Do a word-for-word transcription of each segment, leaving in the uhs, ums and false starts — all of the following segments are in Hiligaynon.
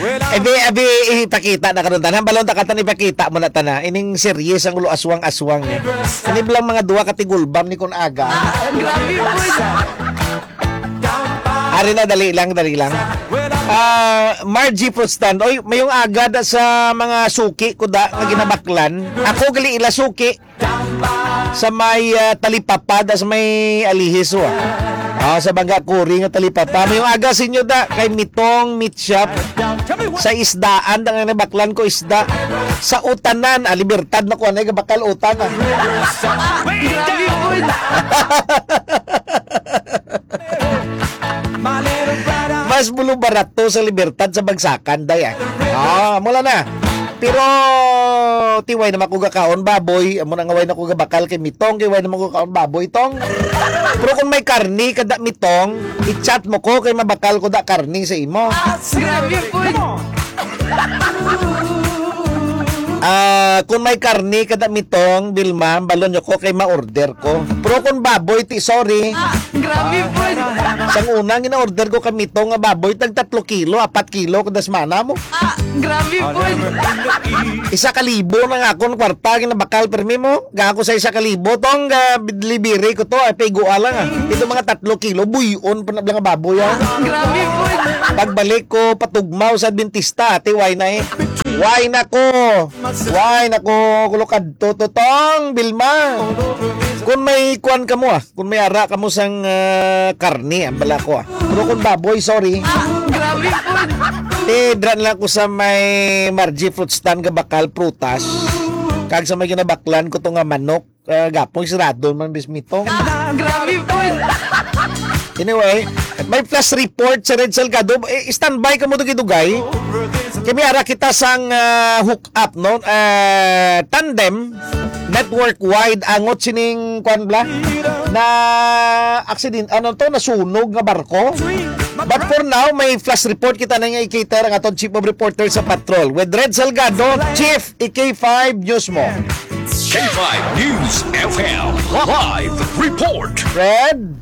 Well, abi, abi, ipakita na karon tanan. Balon ta katan ipakita mo na tanan. Ining series ang ulo aswang-aswang, eh. Ini bilang mga duha ka tigulbam ni kun aga. Ah, grabe po. Ari na, dali lang, dali lang. Ah, Margie Fruit Stand. Oy, mayong aga da sa mga suki ko da nga ginabaklan. Ako gali ila suki. Sa may, ah, talipapa, das may alihis, wa. Ah, sa Bangga Kuri nga talipapa. Mayong aga sa inyo da, kay Mitong Meat Shop. Sa isdaan, da nga nabaklan ko isda. Sa utanan, ah, Libertad na ko, anay, bakal utan, ah. Mas bulo barato sa Libertad sa bagsakan, day, ah. Ah, mula na. Pero, ti, way naman ko gakaon baboy. Amo na nga way na ko gabakal kay Mitong, kay way naman ko gakaon baboy, Tong. Pero kung may karni kada Mitong, i-chat mo ko kay mabakal ko da karni sa imo. Grabe po. Ah, kung may karni kada Mitong, Bilma, balon nyo ko kay ma-order ko. Pero kung baboy, ti, sorry. Ah, grabe po. Sang una, gina-order ko kay Mitong nga baboy, tag tatlo kilo, apat kilo, kada semana mo. Ah, grabe po. Isa ka libo na nga akong kwarta, ginabakal, permi mo. Ga ako sa isa ka libo, Tong, ga, delivery ko to, ay, piguan lang, ah. Ito mga tatlo kilo, buyon pa na lang nga baboy, ah. Grabe po. Pagbalik ko, patugmaw sa dentista, ate, why na, eh? Why na ko? Why na ko? Kulukad to, to, Tong, Bilma. Kung may kuwan ka mo, ah. Kung may ara ka mo sang, ah, karne, ang bala ko, ah. Pero kung baboy, sorry. Ah, grabe po. Eh, dra na lang ko sa may Margie Fruit Stand nga bakal prutas. Kag sa may ginabaklan ko to nga manok, ah, gapong sirado man bis Mitong. Ah, grabe po. Anyway, may flash report sa Red Salgado. Eh, standby ka mo dugay-dugay. Kami ara kita sang, ah, hook up, no? Ah, tandem, network wide, angot sining, kwan bla, na accident, ano to, nasunog nga barko. But for now, may flash report kita na nga i-cater ang aton Chief of Reporter sa Patrol. With Red Salgado, Chief, i K five News mo. K five News F M live report. Red?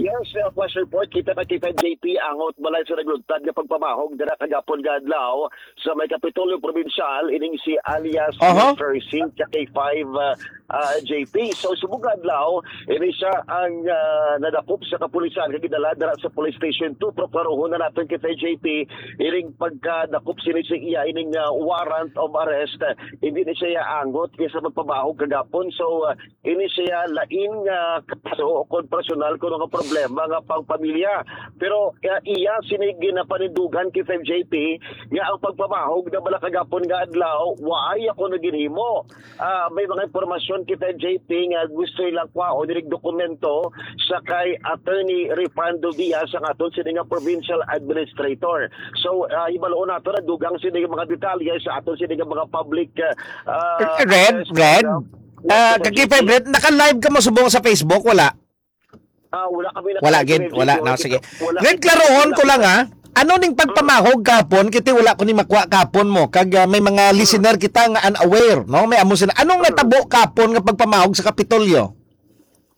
Yes, uh, flash report. Kita na kita, J P, angot balay sa naglugtad nga pagpamahog dira kagapon nga adlaw sa may Kapitolyo Probinsyal, ining si alias Aha. Mister Singh sa K five, uh, uh, J P. So, subong nga adlaw, ini siya ang, uh, nadakop sa kapulisan kag gidala dira sa Police Station two. Pero klaruhon na naton kita, J P, ining pagkadakop sini sa iya, ining, uh, warrant of arrest, uh, hindi ni siya angot kay sa pagpamahog kagapon. So, uh, ini siya lain nga kaso o kon personal kuno nga problema nga pang pamilya. Pero, ah, iya sini ginapanindugan kita, J P, nga ang pagpamahog na bala kagapon nga adlaw, waay ako na ginhimo. Ah, may mga impormasyon kita, J P, nga gusto ilang kwaon inig dokumento sa kay Attorney Refrando Diaz, ang aton sini nga provincial administrator. So, ah, hibaloon nato na dugang sini nga mga detalye sa aton sini nga mga public, ah, ah, Red, affairs Red? program. Ah, Yes, Kaki J P. Fred, naka-live ka mo subong sa Facebook? Wala? Ah, wala kami Wala, naka-live gid. sa Wala. Facebook. No, sige. Wala Red, kami klarohon ko lang, naka-live. ha. Ano ning pagpamahog kapon? Kiti wala ko ni makwa kapon mo. Kag, ah, may mga listener kita nga unaware, no? May amo sila. Anong natabo kapon nga pagpamahog sa Kapitolyo?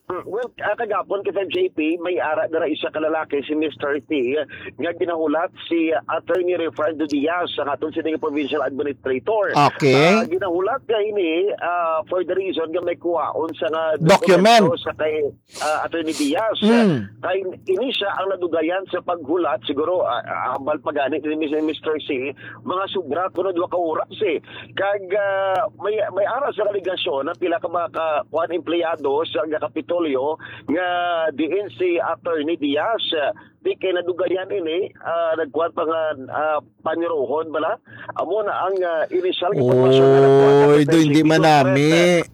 Mm, well, ah, kagapon kita, J P, may ara dira isa ka lalaki, si Mister T, nga ginahulat si Attorney Refrando Diaz, ang aton sini nga provincial administrator. Okay. Ah, ginahulat nga ini, ah, for the reason nga may kuwaon sa nga Document. dokumento sa kay, ah, Attorney Diaz. Mm. Kay ini siya ang nadugayan sa paghulat, siguro, ah, ah, hambal pa gani ni Mister C, mga sobra kuno duha ka oras, eh. Kag, ah, may, may ara sa alegasyon na pila ka mga ka-, kuan, empleyado sa, nga Kapitolyo nga diin si Attorney Diaz, ah, di kay nadugayan ini, ah, nagkuan pa nga, ah, paniruhon bala. Amo na ang, ah, inisyal nga impormasyon nga nagkuan sa Oy, do hindi Kapitolyo. manami.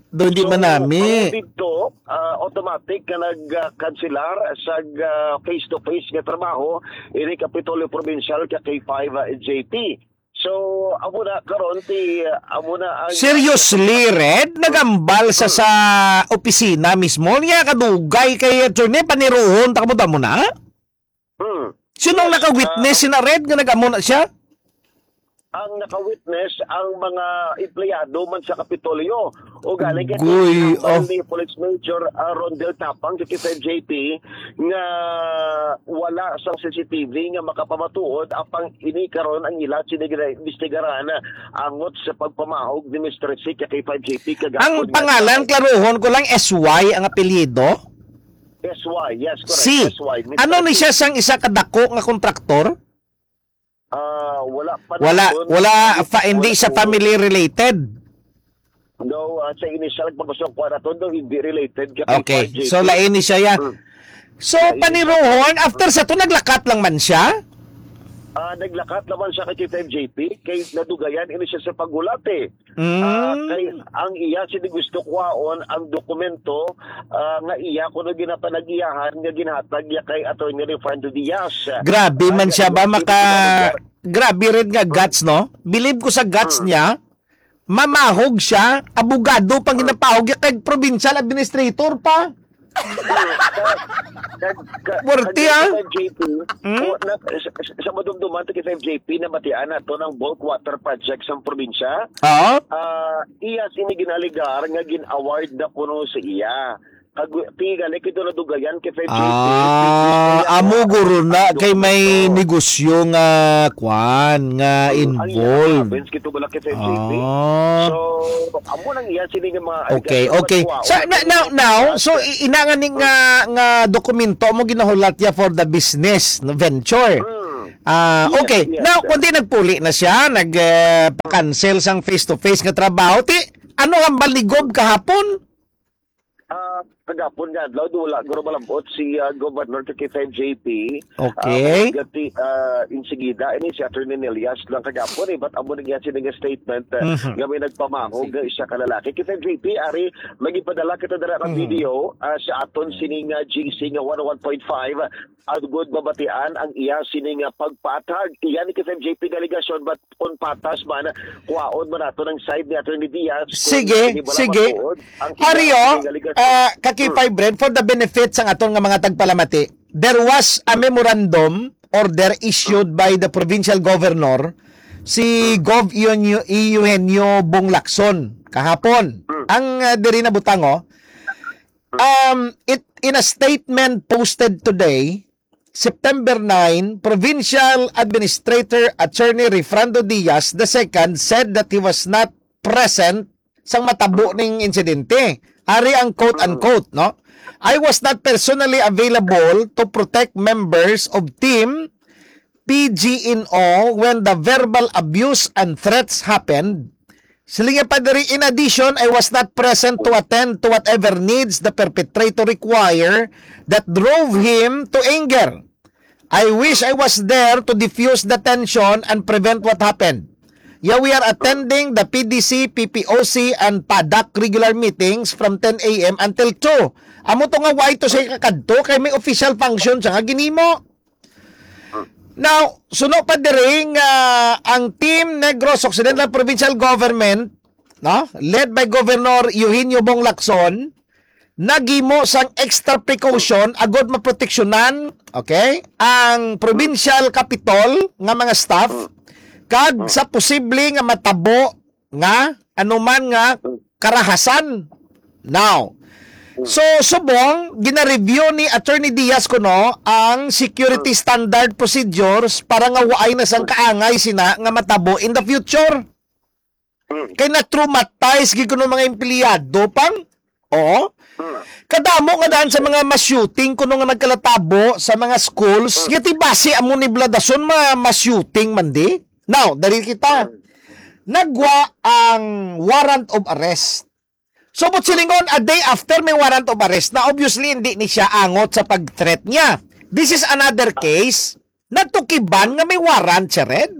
Do hindi So, manami. mao didto, ah, automatic nga nag, ah, kanselar sa, ah, face-to-face nga trabaho ini Kapitolyo Provincial ka K five, ah, J P. So, amo na karon ti, amo na ang Seriously, Red? Nagambal sa, Hmm. sa opisina mismo? Niya kadugay kay attorney, paniruhon, ta kamo damo na? Hmm. Sinong Yes, naka-witness ah, sina Red nga nag-amo na siya? Ang naka-witness ang mga empleyado man sa Kapitolyo. O galing kay Agoy, Police Major, ah, Rondel Tapang sa K five J P nga wala sang C C T V nga makapamatuod, apang ini karon ang ila sini ginaimbestigaran angot sa pagpamahog ni Mister C ka K five J P kagahapon. Ang pangalan, klaruhon ko lang, S Y ang apelyido? S Y, yes, correct. Si, S Y, Mister ano ni C. Siya sang isa ka dako nga kontraktor? Ah, wala pa Wala, naton wala, pa, hindi siya family related. No, ah, sa initial, pag gusto ko naton, no, hindi related kay Okay, K five J P. So lain ni siya yan. Hmm. So, lain ni siya. Paniruhon, after sa to, naglakat lang man siya? Ah, naglakat naman siya kay K five J P, kay nadugayan ini siya sa paghulat eh. Mm. Ah, kay ang iya sini gusto kuhaon ang dokumento, ah, nga iya kuno ginapanag-iyahan nga ginhatag niya kay Attorney Refrando Diaz. Grabe man siya ba maka-, grabe rin nga guts, no? Believe ko sa guts niya, mamahog siya, abogado pang ginapahog niya kay provincial administrator pa. Ka-, ka-, Worthy, ah. K five J P, Hmm? o, na, sa, sa, sa madumduman to kay K five J P, nabatian nato ng bulk water project sa probinsya. Oo. Ah, iya sini ginaligar nga gin-award na kuno sa iya. Kag, tiga na kito nadugayan kay K five J P. Ah, amo guro na kay may negosyo nga kwan, nga involved. Ang iya province, kito wala kay K five J P. Ah. So, amo nang iya sini nga mga Okay, allegation okay. Sa, na, now, now, so, i-, ina nga ni nga, nga dokumento mo ginahulat ya for the business, no, venture. Mm. Ah, yes, okay. Yes, now, sir. Kundi nagpuli na siya, nag, eh, pa-cancel sang face-to-face nga trabaho. Ti, ano ang baligob kahapon? Ah, kagapon nga adlaw, do wala guro malabot si, ah, Governor kay K five J P. Okay. Ah, gati, ah, insigida ini si Attorney Nelias lang kagapon eh, but amo na niya sini nga statement, ah, Mhm. nga may nagpamahog Sige. nga isa ka lalaki. K five J P, ari, magipadala kita dira ka Mhm. video, ah, sa aton sini nga G C nga one oh one point five, agud mabatian ang iya sini nga pagpaathag. Iya ni K five J P nga alegasyon, but kung patas man, kuhaon man nato ng side ni Attorney Diaz. Kung Sige, hindi ba sige. Matuod ang Ario, iyang alegasyon. Ah, ka K five Hmm. Red, for the benefit sang aton nga mga tagpalamati, there was a memorandum order issued by the provincial governor, si Hmm. Gov Eugenio, Eugenio Bong Lacson, kahapon. Hmm. Ang, ah, diri na butang, oh. Hmm. Um, it, in a statement posted today, September nine, Provincial Administrator Attorney Refrando Diaz the second said that he was not present sang matabo ning insidente. Ari ang quote-unquote, no? "I was not personally available to protect members of Team P G N O when the verbal abuse and threats happened." Siling niya pa diri, "In addition, I was not present to attend to whatever needs the perpetrator require that drove him to anger. I wish I was there to diffuse the tension and prevent what happened. Yeah, we are attending the P D C, P P O C, and PADAC regular meetings from ten A M until two." Amo to nga why to siya kakadto kay may official function siya nga ginimo. Now, suno pa diri nga ang Team Negros Occidental Provincial Government, no, led by Governor Eugenio Bong Lacson, naghimo sang extra precaution agud maproteksyonan, okay, ang provincial capitol nga mga staff kag sa posible nga matabo nga anuman nga karahasan. Now, so, subong gina-review ni Attorney Diaz kuno ang security standard procedures para nga waay na sang kaangay sina nga matabo in the future. Mm. Kay na-traumatize gid kuno mga empleyado pang. Oo. Mm. Kadamo nga daan sa mga mass shooting kuno nga nagkalatabo sa mga schools, Mm. nga ti basi amo ni Bladason ma-, mass shooting man di. Now, dari kita. Mm. Nagwa ang warrant of arrest. So, but silingon, a day after may warrant of arrest na, obviously, hindi ni siya angot sa pag-threat niya. This is another case. Natukiban nga may warrant siya, Red.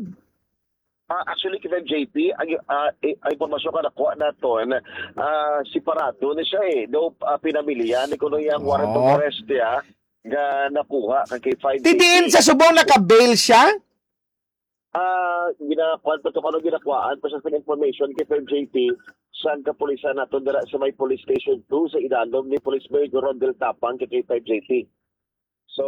Ah, actually, kita J P, ang, ah, i-, ang impormasyon nga nakuha naton, ah, separado na siya eh. Daw, ah, pinamilya ni kuno iyang warrant of Oo. arrest niya nga nakuha kay K five Didiin J P. Sa subong naka-bail siya? Ah, ginakuan pa to, kano ginakuhaan pa siya sa information kay K five J P, sang kapulisan nato dira sa may Police Station two sa idalom ni Police Major Rondel Tapang kay K five J P. So,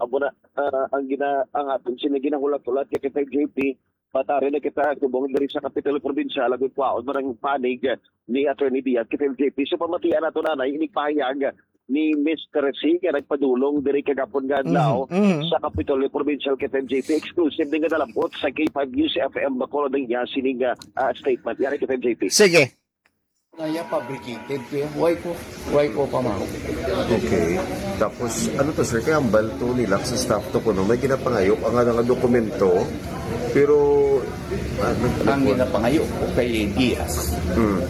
amo na, ah, ang gina-, ang aton sila ginahulat-hulat kay K five J P, Patari na kita subong diri sa Kapitolyo Probinsyal, agud kwaon man ang panig ni Attorney Diaz kay F M J P. So, pamatian nato na na inig pahayag ni Mister C nga nagpadulong diri kagapon nga adlaw Mhm, mhm. sa Kapitolyo Probinsyal kay F M J P. Exclusive din nga nalabot sa K five News F M Bacolod ang iya sining, ah, ah, statement. Yari kay F M J P. Sige. Naya fabricated ko yan. Why ko? Why ko pa, ma'am? Okay. Tapos, ano to, sir? Kaya ang balto nila sa staff to ko, no? May ginapangayo ang nga nga dokumento. Pero, ah, nag- Ang ginapangayo ko kay Diaz, Hmm.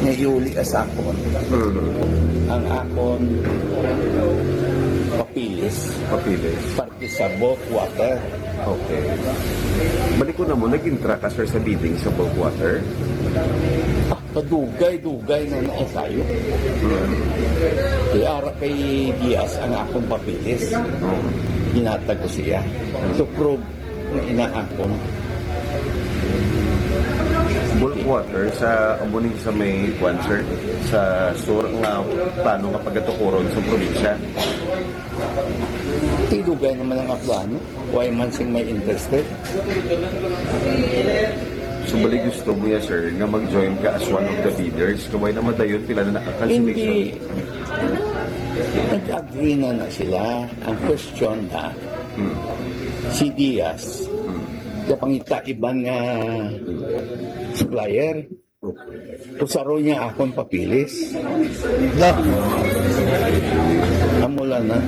nga iuli ka sa akon. Hmm. Ang akon papilis. Papilis. Parte sa bulk water. Okay. Balik ko na mo, nag-intra ka, sir, sa bidding sa bulk water? Ah, kadugay-dugay na na kayo. Hmm. Kaya ara kay Diaz ang akong papilis. Hmm. Ginatag ko siya. To prove nga inaakon. Bulk water sa amuning sa may kwan, sir, sa sur nga plano nga pagatukuron sa probinsya. Tidugay naman ang aplano. Why man sing may interested? So, bali gusto mo ya, sir, nga mag-join ka as one of the bidders? Kaway na madayon, pila na nakakansilisyon? Hindi. Nag-agree na na sila. Ang question na, Hmm. si Diaz, Hmm. kapangita iban nga supplier. Kusaro niya akon papilis. Da. Amo lang na.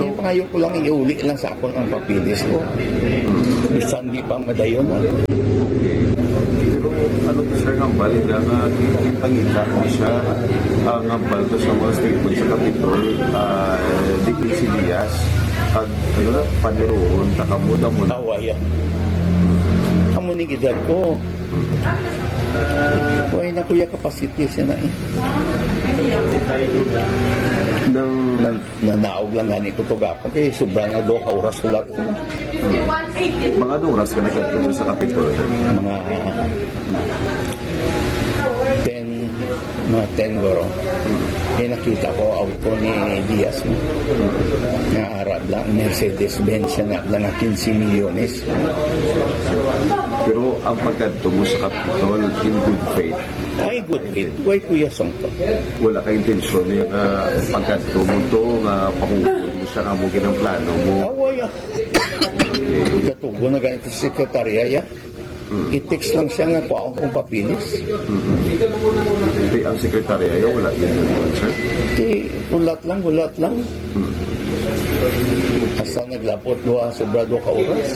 Yung pangayo ko lang, iuli lang sa akon ang papilis ko. Bisan di pa madayon, ah. Pero ano to, sir, ang bali na nga, kita-kita mo siya, ang hambal to sa mga statement sa Kapitol, ah, di ko si Diaz, kag, ano na, paniruon, takamod mo na. Awa, yan. Amo ni edad ko. Wala na kuya capacity siya na eh. Nang Nan-, nanaog lang gani ko to gapon. Eh, sobra nga duha ka oras ko lang. Mga anong oras ka nagkadto sa Kapitol? Mga ten, mga ten guro. Eh, nakita ko auto ni Diaz, no? Nga Arab lang, Mercedes-Benz siya na lang nga quince milyones. Pero ang pagkadto mo sa Kapitol, in good faith? Ay, good faith. Why, Kuya Songko? Wala ka intensyon niya nga pagkadto mo to, nga pahugon mo siya nga mo ginang plano mo? Away, ah. Katugo na ganito sa sekretarya, ya. Mm. I-text lang siya nga kuha akong papilis. Mm. Di ang sekretarya, ya, wala yun yung answer? Di, hulat lang, hulat lang. Mm. Hasta naglabot duha, sobra duha ka oras.